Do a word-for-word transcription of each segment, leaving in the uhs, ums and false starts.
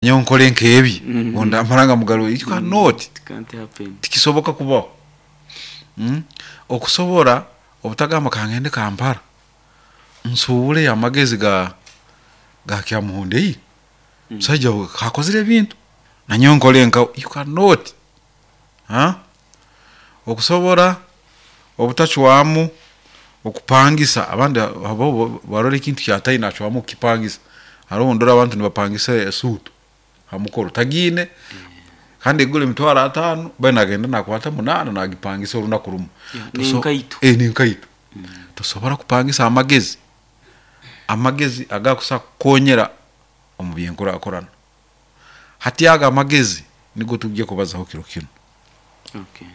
Nyowe nkole nkebi Mm. ndamara mugaruye, you cannot. It can't happen. Tikisoboka kubaho. Mm? Okusobora obutagamba kangende Kampala nsuubule amagezi ga ga Kyamuhundei, musaija we kakozire ebintu, nanyowe nkole nkawe, you cannot. Huh? Okusobora obutacwamu okupangisa abandi abo barora ekintu kyataine acwamu kukipangisa. Haroho ndora abantu nibapangisa esuutu ha mukoro tagiine kandi egura emitwaro ataano, baitu nagenda nakwata munaana nagipangisa orunaku rumu. Yeah, Toso- n'enkaito. Eh, n'enkaito. Tosobora kupangisa amagezi, amagezi agakusobola kukukonyera omu byenkurakurana. Hati ago amagezi nigo tujja kubazaho kiro kinu. Okay.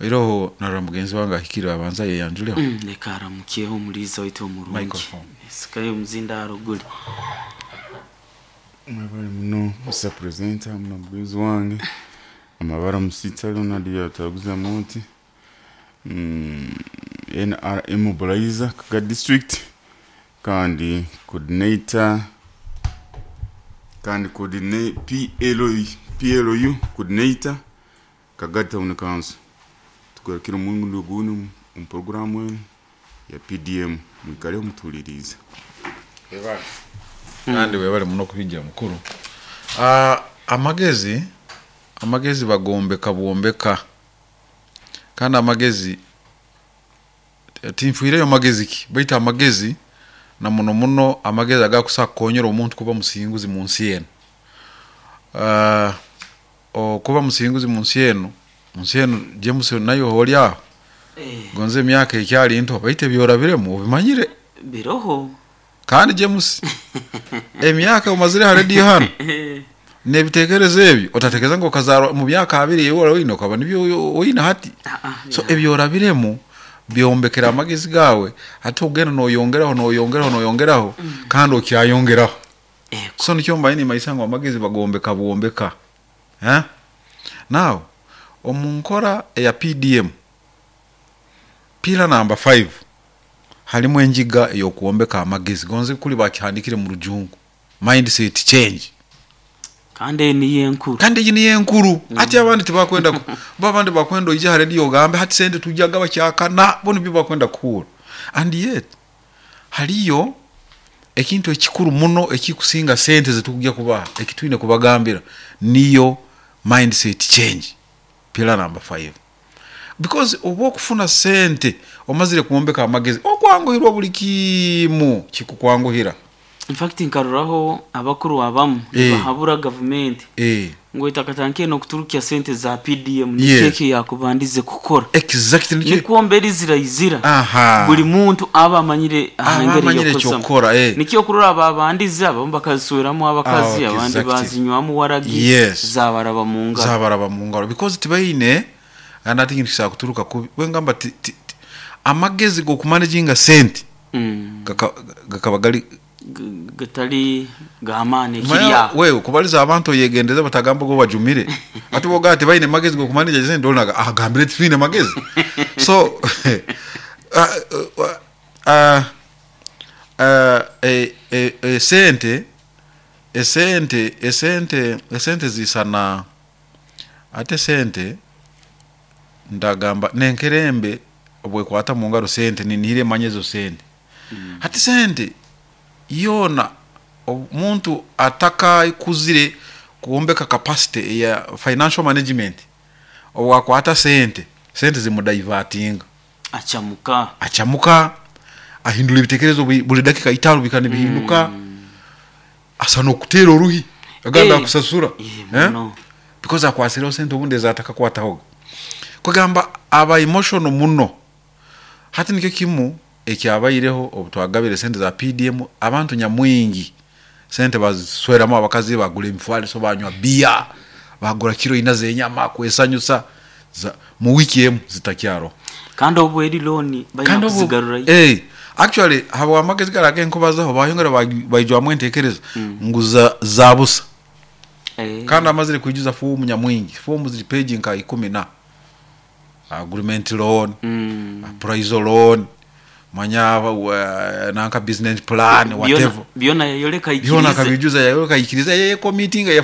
Oiroho narora mugenzi wange ahikire, abanza yeyanjuleho. Mm, leka aramukyeho omuliiza waitu omurungi. Microphone. Sikayo omuzindaaro guli. Mwebale muno, Mister Presenter, muno mugenzi wange amabara Musita Leonard yataguza muti mm, N R M mobilizer Kaga District kandi coordinator kandi coordinate P L U, P L U coordinator, Kaga Town Council. Tugarukire omurundi ogundi omu programu enu ya P D M. Mwikaleho mutulirize. Kandi webale muno kubijja mukuru. Ah, amagezi amagezi bagombeka bwombeka, kandi amagezi tinfiireyo magezi ki, baitu amagezi na muno muno amagezi agakusobola kukonyera omuntu kuba musinguzi mu nsi enu. Ah, okuba musinguzi mu nsi enu mu nsi enu James, nayo oli aho Eh, gonze emyaka ekyali nto, baitu ebyorabiremu obimanyire. Biroho. Kandi James, emyaka omazire ha rediyo hano Eh, n'ebitekerezo ebyo otatekereza ngu okazarwa mu myaka abiri ewe oine okaba nibyo oine hati. Ah, ah, So yeah. ebyorabiremu byombekera amagezi gawe, hati ogenda noyongeraho, noyongeraho, noyongeraho, kandi okyayongeraho. Ego. So nikyo mbaye nimaisa ngu amagezi bagombeka bwombeka, eh? Now omu nkora eya P D M pillar number five halimu enjiga ey'okwombeka amagezi, gonze kuli bakihandikire mu Rujungu mindset change. Kandi eyo niyo enkuru. Kandi egi niyo enkuru. Ati abandi tibakwenda ku- bo abandi bakwenda oije ha rediyo ogambe hati sente tujjaga bakyakana, bo nibyo bakwenda kuhura. And yet haliyo ekintu ekikuru muno ekikusinga sente zetukujja kubaha, ekitwine kubagambira niyo mindset change, pillar number five, because oba okufuna sente omazire kwombeka amagezi, okwanguhirwa buli kimu kikukwanguhira. In fact nkaroraho abakuru abamu Eh. bahabura gavumenti eh. ngo itakatankiye nokuturukya sente za P D M, Yes. nikyo yakubandize kukora, exactly nikyo- nikwo mberi zirayizira Aha. buli muntu aba amanyire Aba ahangeri amanyire yokukozesa. ekyokukora, eh. Nikyo okurora babandize abamu bakazisweramu abakazi, Ah, abandi exactly. bazinywamu waragi, Yes. zabaraba mu ngaro. Zabaraba mu ngaro because tibaine. Kandi ati kintu kisobola kuturuka kubi bwengamba ti, ti, ti, amagezi g'okumanaginga sente Mm. gaka- gakaba gali G- gatali gamaani Manya, ekiri aho. Wewe kubaliza abantu oyegendeze batagamba go bajumire, ati boga ati baine magezi g'okumanage sente, olinaga agambire titwine magezi. So uh, uh, uh, uh, eh, eh, eh, sente esente esente esente zisana ate sente ndagamba nenkerembe obwekwata mu ngaro sente ninihire emanya ezo sente. Hati sente yona omuntu atakakuzire kuombeka capacity eya financial management, obwakwata sente, sente zimudivertinga. Acamuka. Acamuka, ahindura ebitekerezo buli buli dakika itaano bikana bihinduka, asa n'okuteera oruhi aganda Eh. akusasura. Eh, Eh? muno. Because akwasireho sente obundi ezatakakwatahoga, kugamba aba emotional muno. Hati nikyo kimu ekyabaireho obu twagabire sente za P D M, abantu nyamwingi sente bazisweramu abakazi, bagura emifaliso, banywa biya, bagura kiro ina z'enyama kwesanyusa, za- mu wiki emu zitakyaroho. Kandi obu eri loan balina Kandi obu- kuzigarurayo. Eh, actually habwa amagezi gara agenkubazaho bayongera bagi- baijwamu entekereza ngu za, za busa. Eh, Kandi amazire kwijuza fomu nyamwingi, fomu ziri page nka ikumi na agreement loan, mm, appraisal loan, Manya uh, nanka business plan, whatever. Byona yayoleka Byona ikirize. Akabijuza, yayoleka ikiriza, yeye committing yafuna.